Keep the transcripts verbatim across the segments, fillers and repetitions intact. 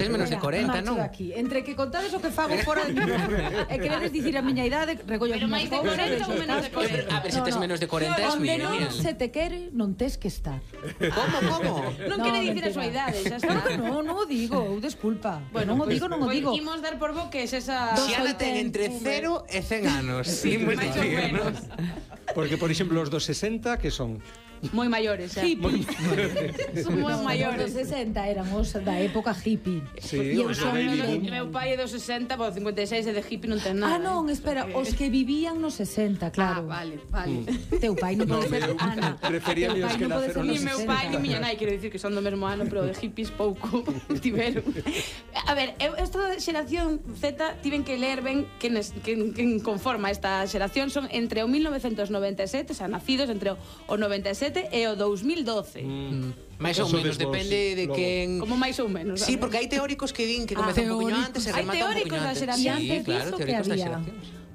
Es menos de corenta, non? Entre que contades o que fago fora de micrófono e queredes dicir a miña idade, recollo as miñas cousas. Pero máis de corenta ou menos de corenta? A ver, se tes menos de corenta es millennial. Onde non se te quere, non tes que estar. Como, como? Non quere dicir a súa idade, xa está. Claro que non, non o digo, desculpa. Bueno, non o digo, non o digo. Imos dar por bo que es esa... Xiana ten entre cero e cen anos. Sí, moi menos. Porque, por exemplo, os dos sesenta, que son? Moi maiores, xa. Hippies. Son moi Os maiores. sesenta eran os da época hippie. Sí, E os os do baby boom. Meu pai é dos sesenta, bo, cincuenta e seis e de hippie non ten nada. Ah, non, espera, os que vivían nos sesenta, claro. Ah, vale, vale. Teu pai non pode ser Ana. Prefería os que naceron Ni nos meu pai ni miña nai, quero dicir que son do mesmo ano, pero de hippies pouco tiveron. A ver, eu esta xeración Z tiven que ler ben quen, es, quen, quen conforma esta xeración. Son entre o mil novecentos noventa e sete, o sea, nacidos entre o noventa e sete e o dous mil doce. Mm. Mais ou menos, depende de quen... Como máis ou menos. Sí, porque hai teóricos que din que comeza un poquinho antes e remata un poquinho antes. Hai teóricos da xeración. Sí, claro, teóricos da xeración.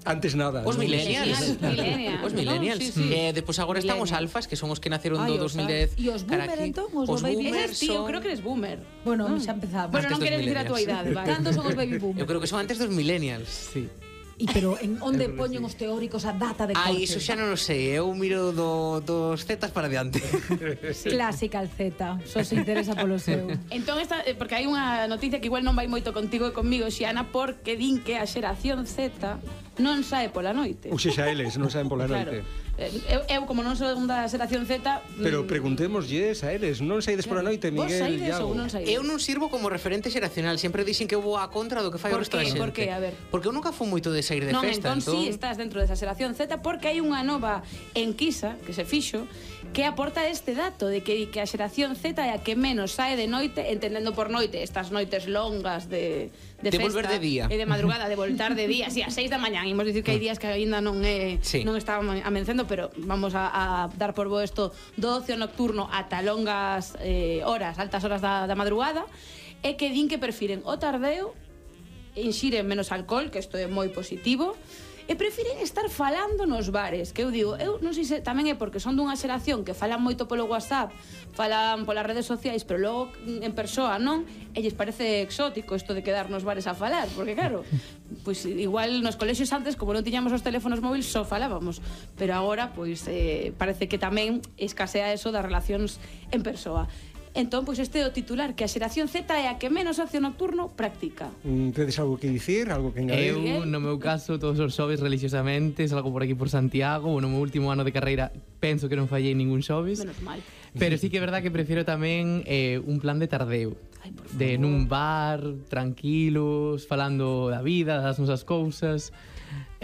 Antes nada. Os millennials. Millennials. Os millennials. No, sí, sí. Eh, Despois agora están os alfas, que son os que naceron do Ay, dos mil dez. E os boomer, entón, os do baby boom. Eres tío, creo que eres boomer. Bueno, xa empezamos. Bueno, non queres dicir a tua idade, vale. Cantos son os baby boom? Eu creo que son antes dos millennials. Sí. E pero en onde poñen os teóricos a data de corte? Ai, iso xa non o sei, eu miro do, dos zetas para diante. Sí. Clásica al Z, só se interesa polo seu. Entón, esta, porque hai unha noticia que igual non vai moito contigo e comigo, Xiana, porque din que a xeración Z non sae pola noite. Ou xa eles non saen pola noite. Claro. Eu, eu, como non son da xeración Z... Pero preguntémoslles a eles, non saides pola noite, Miguel? Vos saides Iago? ou non saides? Eu non sirvo como referente xeracional, sempre dixen que eu vou a contra do que fai o Por resto da qué? xente. Por qué? A ver. Porque eu nunca fui moito de sair de Non, festa, entón, entón... sí, estás dentro desa xeración Z, porque hai unha nova enquisa que se fixo que aporta este dato de que, que a xeración Z é a que menos sae de noite, entendendo por noite estas noites longas de, de, De festa volver de día. e de madrugada, de voltar de día, así a seis da mañán. Imos dicir que hai días que aínda non é Sí. non está amencendo, pero vamos a, a dar por bo isto do ocio nocturno ata longas eh, horas, altas horas da, da madrugada, e que din que prefiren o tardeo, inxiren menos alcohol, que isto é moi positivo, e prefiren estar falando nos bares, que eu digo, eu non sei se tamén é porque son dunha xeración que falan moito polo WhatsApp, falan polas redes sociais, pero logo en persoa non, e lles parece exótico isto de quedar nos bares a falar, porque claro, pois igual nos colexios antes, como non tiñamos os teléfonos móviles, só falábamos, pero agora pois eh, parece que tamén escasea eso das relacións en persoa. Entón, pois este é o titular, que a xeración Z é a que menos ocio nocturno practica. Mm, Tedes algo que dicir, algo que engadir? Eu, no meu caso, todos os xoves religiosamente, salgo por aquí por Santiago, no meu último ano de carreira penso que non fallei ningún xoves. Menos mal. Pero sí que é verdad que prefiero tamén eh, un plan de tardeo. Ay, por De nun bar, tranquilos, falando da vida, das nosas cousas.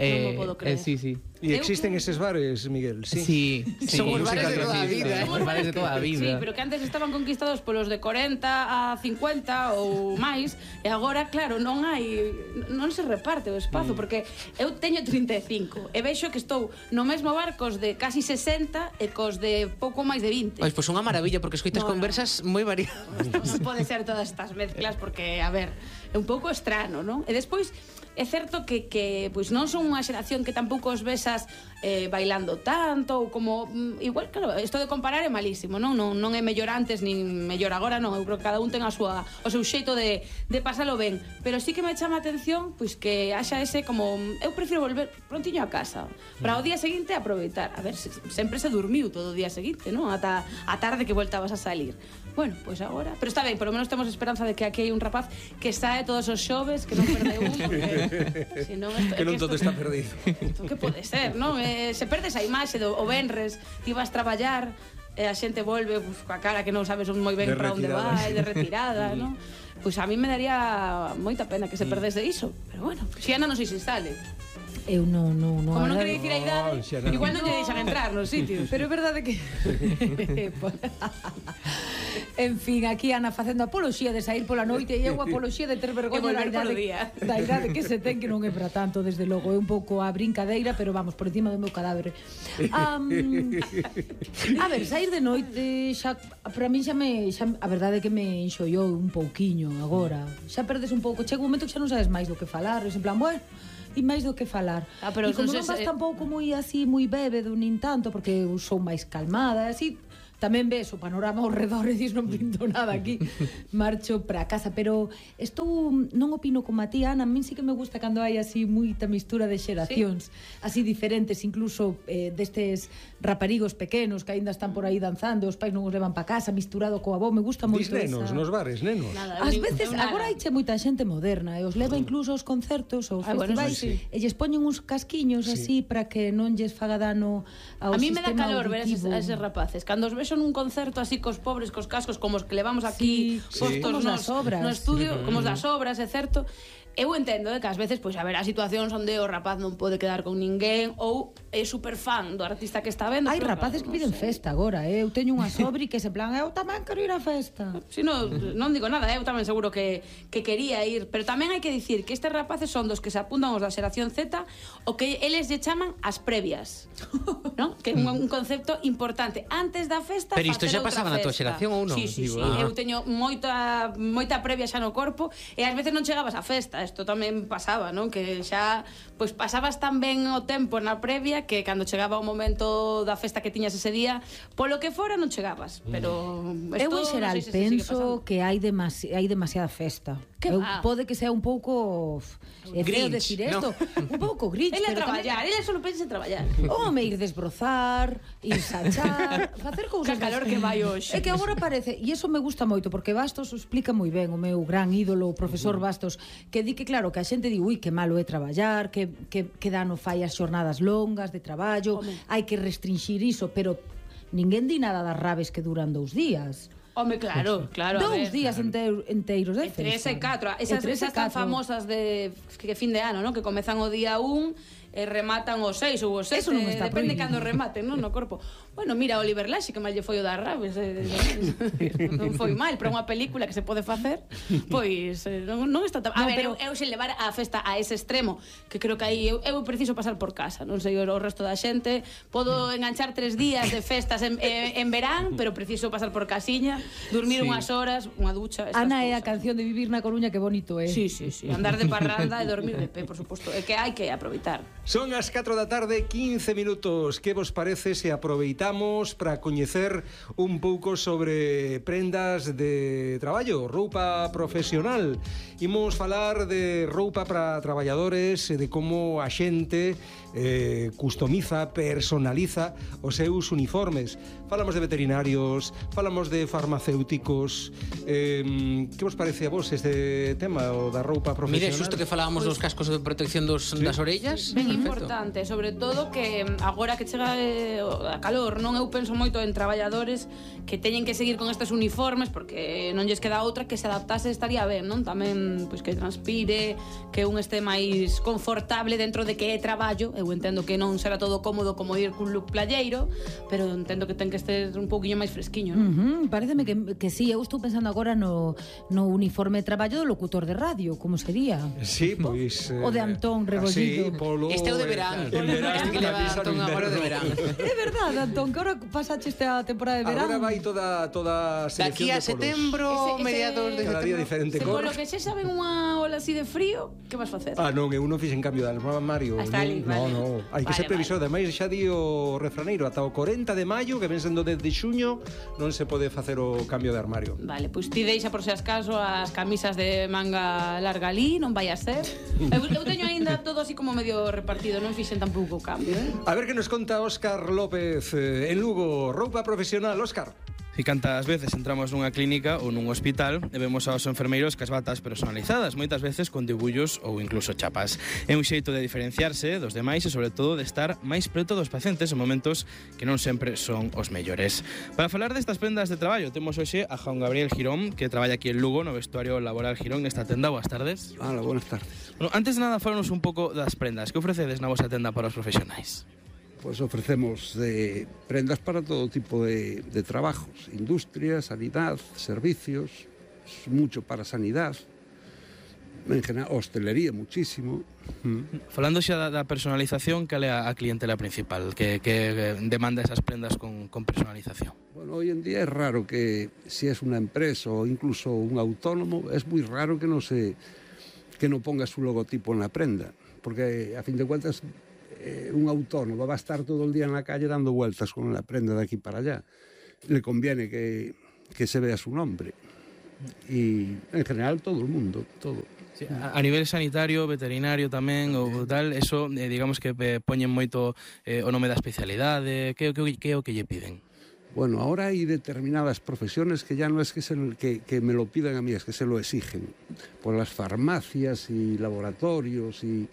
Non mo podo creer. Eh, sí, sí. E existen eses bares, Miguel? Sí, Sí. sí. Son os bares de toda a vida, eh. Os bares de toda a vida. Sí, pero que antes estaban conquistados polos de corenta a cincuenta ou máis, e agora, claro, non hai, non se reparte o espazo, porque eu teño trinta e cinco e vexo que estou no mesmo bar cos de casi sesenta e cos de pouco máis de vinte. Pois, pois unha maravilla, porque escoitas No, no. conversas moi variadas. Non pode ser todas estas mezclas, porque, a ver, é un pouco estrano, non? E despois, é certo que, que pois non son unha xeración que tampouco os besas eh, bailando tanto ou como, mm, igual, claro, isto de comparar é malísimo, non? Non, non é mellor antes nin mellor agora, non, eu creo que cada un ten a súa, o seu xeito de, de pasalo ben, pero sí que me chama a atención pois que haxa ese como, eu prefiro volver prontiño a casa para o día seguinte aproveitar, a ver, se, sempre se dormiu todo o día seguinte, non? Ata a tarde que voltabas a salir. Bueno, pois pues agora, pero está ben, por lo menos temos esperanza de que aquí hai un rapaz que sae todos os xoves, que non perde un, porque si non, esto, Que non esto, todo está perdido. Isto que pode ser, non? Eh, se perdes a imaxe do o venres, ti vas traballar, e a xente volve pues, coa cara que non sabes moi ben De para onde retirada. vai, de retirada, non? Pois pues a mí me daría moita pena que se perdese iso, pero bueno, Xiana non sei se sale. Eu non, non, non. Como non a quere verdade- dicir a idade, No, Xiana, igual no. non lle deixan entrar nos sitios. Pero é verdade que... En fin, aquí Ana facendo apoloxía de sair pola noite e eu apoloxía de ter vergoña E volver da idade, polo día. da idade que se ten, que non é para tanto, desde logo. É un pouco a brincadeira, pero vamos, por encima do meu cadáver. Um, a ver, sair de noite xa, para mí xa me xa, a verdade é que me enxollou un pouquiño agora. Xa perdes un pouco, chega un momento que xa non sabes máis do que falar, en plan, bueno, e máis do que falar. Ah, pero e como non non sei vas se- tampouco moi así, moi bébedo, nin tanto, porque eu sou máis calmada, así tamén ves o panorama ao redor e dis non pinto nada aquí, marcho para casa. Pero estou, non opino como a ti, Ana, a min sí que me gusta cando hai así moita mistura de xeracións, ¿sí? Así diferentes, incluso eh, destes raparigos pequenos que aínda están por aí danzando, os pais non os levan para casa, misturado coa avó, me gusta moito Dis nenos, esa... nos bares, nenos. Nada, Ás ni- veces, ni nada. agora hai che moita xente moderna e os leva incluso aos concertos ou Ah, bueno, festivais sí, sí. e lles poñen uns casquiños así para que non lles faga dano ao A mí me dá sistema calor ver a eses, auditivo. a eses rapaces. Cando os vexo nun concerto así cos pobres, cos cascos, como os que levamos aquí Sí, postos como os nos, das obras. no estudio, como os das obras, é certo. Eu entendo eh, que ás veces pois haberá situacións onde o rapaz non pode quedar con ninguén ou é super fan do artista que está vendo. Hai pero, rapaces claro, que non piden sei. festa agora, eh? Eu teño unha sobri que se plan, eu tamén quero ir á festa. Si no, non digo nada, eu tamén seguro que, que quería ir, pero tamén hai que dicir que estes rapaces son dos que se apuntan os da xeración Z o que eles lle chaman as previas, ¿no? Que é un, un concepto importante. Antes da festa, Pero isto facer xa outra pasaba na tua festa. xeración ou non? Sí, sí, Digo, sí. ah. Eu teño moita, moita previa xa no corpo e ás veces non chegabas á festa. Isto tamén pasaba, non? Que xa pois pasabas tan ben o tempo na previa que cando chegaba o momento da festa que tiñas ese día, polo que fora non chegabas, pero Eu esto, en xeral non sei se se sigue penso pasando. que hai demasi hai demasiada festa. Que Eu, va? pode que sea un pouco é feo Grinch, decir ¿no? isto, un pouco grinch, Ele a pero tamén traballar, ele só pensa en traballar. home, ir desbrozar, ir sachar, facer cousas. Que calor que vai hoxe. É que agora parece, e iso me gusta moito, porque Bastos o explica moi ben, o meu gran ídolo, o profesor Bastos, que di que claro, que a xente di, ui, que malo é traballar, que, que, que dano fai as xornadas longas de traballo, Home. hai que restringir iso, pero ninguén di nada das rabes que duran dous días. Home, claro, claro, a Dous ver. días enteiros, enteiros de E tres festa. e catro. E Esas, tres e esas tan catro. famosas de que fin de ano, ¿no? Que comezan o día un e rematan o seis ou o sete, Eso non está depende prohibido. cando rematen, non, no corpo. Bueno, mira, Oliver Laxe, que mal lle foi o das rabes, eh, non foi mal, pero unha película que se pode facer, pois eh, non, non está tan... A No, ver, pero- eu, eu se levar a festa a ese extremo, que creo que aí eu, eu preciso pasar por casa, non sei o, o resto da xente, podo enganchar tres días de festas en, en, en verán, pero preciso pasar por casiña, dormir Sí. unhas horas, unha ducha, estas Ana é a cousas. canción de Vivir na Coruña, que bonito é. Sí, sí, sí, andar de parranda e dormir de pé, por suposto, é que hai que aproveitar. Son as catro da tarde, quince minutos. Que vos parece se aproveitamos para coñecer un pouco sobre prendas de traballo, roupa profesional? Imos falar de roupa para traballadores e de como a xente eh, customiza, personaliza os seus uniformes. Falamos de veterinarios, falamos de farmacéuticos. Eh, que vos parece a vos este tema, o da roupa profesional? Mire, xusto que falábamos dos cascos de protección dos, das orellas. Ben Perfecto. importante, sobre todo que mm, agora que chega eh, o- a calor, non eu penso moito en traballadores que teñen que seguir con estes uniformes porque non lles queda outra que se adaptase estaría ben, non? Tamén pois que transpire, que un este máis confortable dentro de que é traballo. Eu entendo que non será todo cómodo como ir cun look playeiro, pero entendo que ten que estar un pouquiño máis fresquiño, non? Uh -huh, pareceme que, que sí, eu estou pensando agora no, no uniforme de traballo do locutor de radio, como sería? Sí, pois... O de Antón Rebollido. Así, polo... Este é o de verán. En verán, Este que leva camisa no Antón agora de inverno. verán. É verdade, Antón, que ahora pasache esta temporada de verán. Agora vai toda, toda a selección Daqui a de polos. setembro, Ese- ese- mediados de Cada día setembro. diferente Se cor. polo que xe saben unha ola así de frío, que vas facer? Ah, non, eu non fixen cambio de armario. Ah, está non, ali, no, vale. no, hai que Vale, ser previsor. Ademais, xa di o refraneiro, ata o corenta de maio, que ven sendo desde xuño, non se pode facer o cambio de armario. Vale, pois ti deixa por se as caso as camisas de manga larga ali, non vai a ser. Eu, eu teño aínda todo así como medio repartido, non fixen tampouco o cambio, eh? A ver que nos conta Óscar López eh, en Lugo, roupa profesional. Óscar. E cantas veces entramos nunha clínica ou nun hospital e vemos aos enfermeiros cas batas personalizadas, moitas veces con dibullos ou incluso chapas. É un xeito de diferenciarse dos demais e sobre todo de estar máis preto dos pacientes en momentos que non sempre son os mellores. Para falar destas prendas de traballo temos hoxe a Juan Gabriel Girón, que traballa aquí en Lugo no vestuario laboral Girón nesta tenda. Boas tardes. Hola, buenas tardes. Bueno, antes de nada, falanos un pouco das prendas. Que ofrecedes na vosa tenda para os profesionais? Pues ofrecemos eh, prendas para todo tipo de, de trabajos, industria, sanidad, servicios, mucho para sanidad, en general hostelería muchísimo. Mm. Falando xa da, da personalización, cal é a, a clientela principal que, que demanda esas prendas con, con personalización? Bueno, hoy en día es raro que si es una empresa o incluso un autónomo, es muy raro que no se que no ponga su logotipo en la prenda, porque a fin de cuentas eh, un autónomo va a estar todo el día en la calle dando vueltas con la prenda de aquí para allá. le conviene que, que se vea su nombre. Y en general todo el mundo, todo. Sí, a, a nivel sanitario, veterinario tamén ou tal, eso eh, digamos que eh, poñen moito eh, o nome da especialidade, que, que, que é o que lle piden? Bueno, ahora hay determinadas profesiones que ya no es que, se, que, que me lo pidan a mí, es que se lo exigen. Por las farmacias y laboratorios y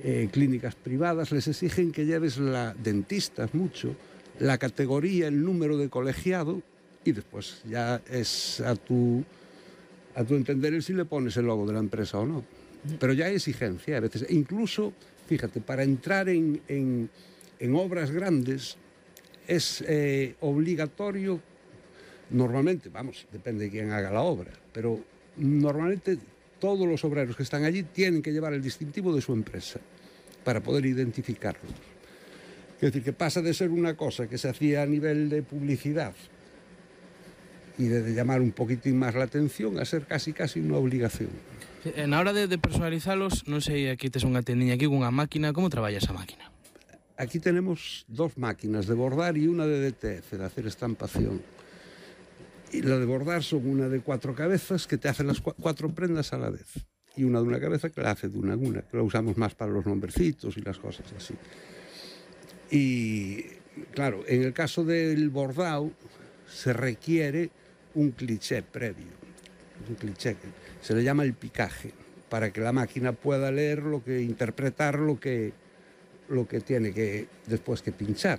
eh, clínicas privadas les exigen que lleves la dentistas mucho, la categoría, el número de colegiado, y después ya es a tu, a tu entender el si le pones el logo de la empresa o no. Pero ya hay exigencia a veces. Incluso, fíjate, para entrar en, en, en obras grandes es eh, obligatorio, normalmente, vamos, depende de quién haga la obra, pero normalmente todos los obreros que están allí tienen que llevar el distintivo de su empresa para poder identificarlos. Es decir, que pasa de ser una cosa que se hacía a nivel de publicidad y de, de llamar un poquitín más la atención a ser casi casi una obligación. Na hora de, de personalizalos, non sei, aquí tes unha tendiña aquí cunha máquina, como traballa esa máquina? Aquí tenemos dos máquinas de bordar y una de D T F, de hacer estampación. Y la de bordar son una de cuatro cabezas que te hace las cu cuatro prendas a la vez. Y una de una cabeza que la hace de una en una, que la usamos más para los nombrecitos y las cosas así. Y claro, en el caso del bordado se requiere un cliché previo. Un cliché que se le llama el picaje, para que la máquina pueda leer lo que, interpretar lo que... lo que tiene que después que pinchar.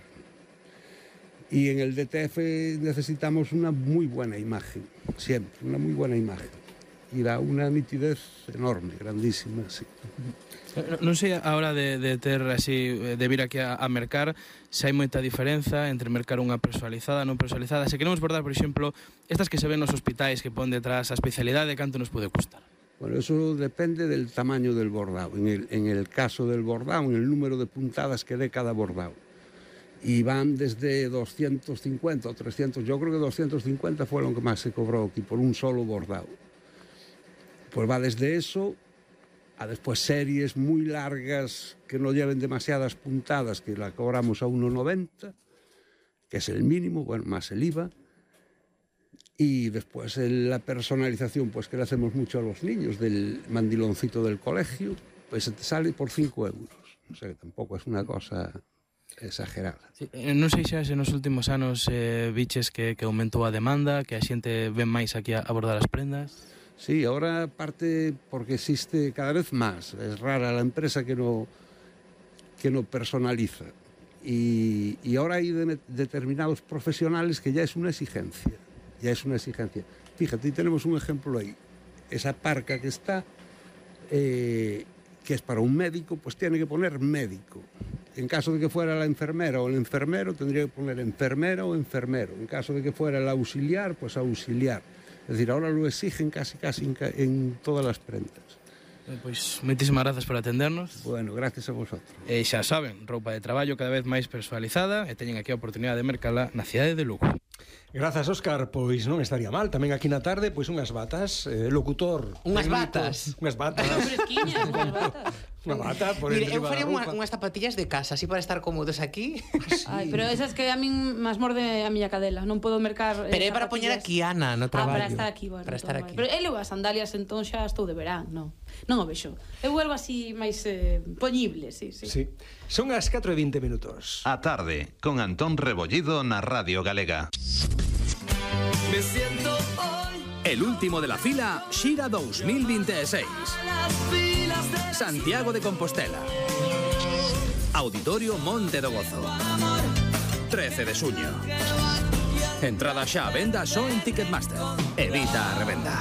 Y en el D T F necesitamos una muy buena imagen, siempre, una muy buena imagen. Y da una nitidez enorme, grandísima, sí. Non sei a hora de, de ter así, de vir aquí a, a mercar, se hai moita diferenza entre mercar unha personalizada e non personalizada. Se queremos bordar, por exemplo, estas que se ven nos hospitais que pon detrás a especialidade, canto nos pode custar? Bueno, eso depende del tamaño del bordado. En el, en el caso del bordado, en el número de puntadas que dé cada bordado. Y van desde doscientos cincuenta o trescientos, yo creo que doscientos cincuenta fue lo que más se cobró aquí por un solo bordado. Pues va desde eso a después series muy largas que no lleven demasiadas puntadas, que la cobramos a uno noventa, que es el mínimo, bueno, más el I V A. Y después la personalización, pues que le hacemos mucho a los niños, del mandiloncito del colegio, pues te sale por cinco euros. O sea que tampoco es una cosa exagerada. Sí, non sei xa se nos últimos anos eh, biches que, que aumentou a demanda, que a xente ven máis aquí a abordar as prendas. Sí, ahora parte porque existe cada vez más. Es rara la empresa que no, que no personaliza. Y, y ahora hay de, determinados profesionales que ya es una exigencia. Ya es una exigencia. Fíjate, tenemos un ejemplo ahí. Esa parca que está, eh, que es para un médico, pues tiene que poner médico. En caso de que fuera la enfermera o el enfermero, tendría que poner enfermera o enfermero. En caso de que fuera el auxiliar, pues auxiliar. Es decir, ahora lo exigen casi, casi en, en todas las prendas. Pois, moitísimas grazas por atendernos. Bueno, gracias a vosotros. E xa saben, roupa de traballo cada vez máis personalizada e teñen aquí a oportunidade de mercala na cidade de Lugo. Grazas, Óscar, pois non estaría mal. Tamén aquí na tarde, pois unhas batas, eh, locutor. Unhas técnico, batas. Unhas batas. Fresquiñas, unhas batas. Unha bata por Mire, eu enriba faría da unha, roupa. unhas zapatillas de casa, así para estar cómodos aquí. Ai, pero esas que a min máis morde a miña cadela, non podo mercar. Pero é para poñer aquí Ana no Ah, traballo. para estar aquí, bueno. Para estar entón, aquí. Pero eu levo as sandalias, entón xa estou de verán, non. Non o vexo. Eu vuelvo así máis eh, poñible, sí, sí. Sí. Son as catro e vinte minutos. A tarde, con Antón Rebollido na Radio Galega. Me siento hoy el último de la fila Xira dos mil veintiséis. Santiago de Compostela. Auditorio Monte do Gozo. trece de suño. Entrada xa a venda só en Ticketmaster. Evita a revenda.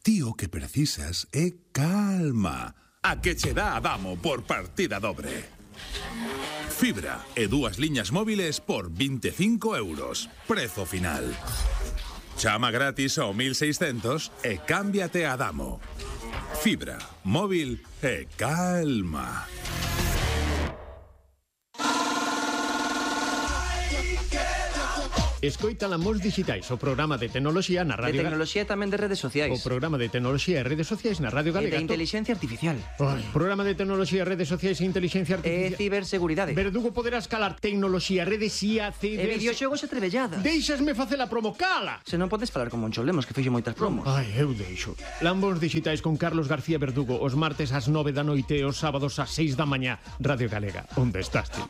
Ti o que precisas é calma. A que che dá a Damo por partida dobre. Fibra e dúas liñas móviles por veinticinco euros. Prezo final. Chama gratis ao mil seiscentos e cámbiate a Damo. Fibra, móvil e calma. Escoita Lamos Digitais, o programa de tecnoloxía na De Radio Galega. tecnoloxía e tamén de redes sociais. O programa de tecnoloxía e redes sociais na Radio E Galega. de inteligencia artificial. Ai, programa de tecnoloxía, redes sociais e inteligencia E artificial. ciberseguridade. Verdugo poderás calar tecnoloxía, redes I A, E ciber... videoxogos e trebelladas. Deixasme facer a promo, cala! Se non podes falar con Moncho Lemos, que fixo moitas promos. Ai, eu deixo. Lambos Digitais con Carlos García Verdugo, os martes ás nove da noite e os sábados ás seis da mañá. Radio Galega, onde estás ti?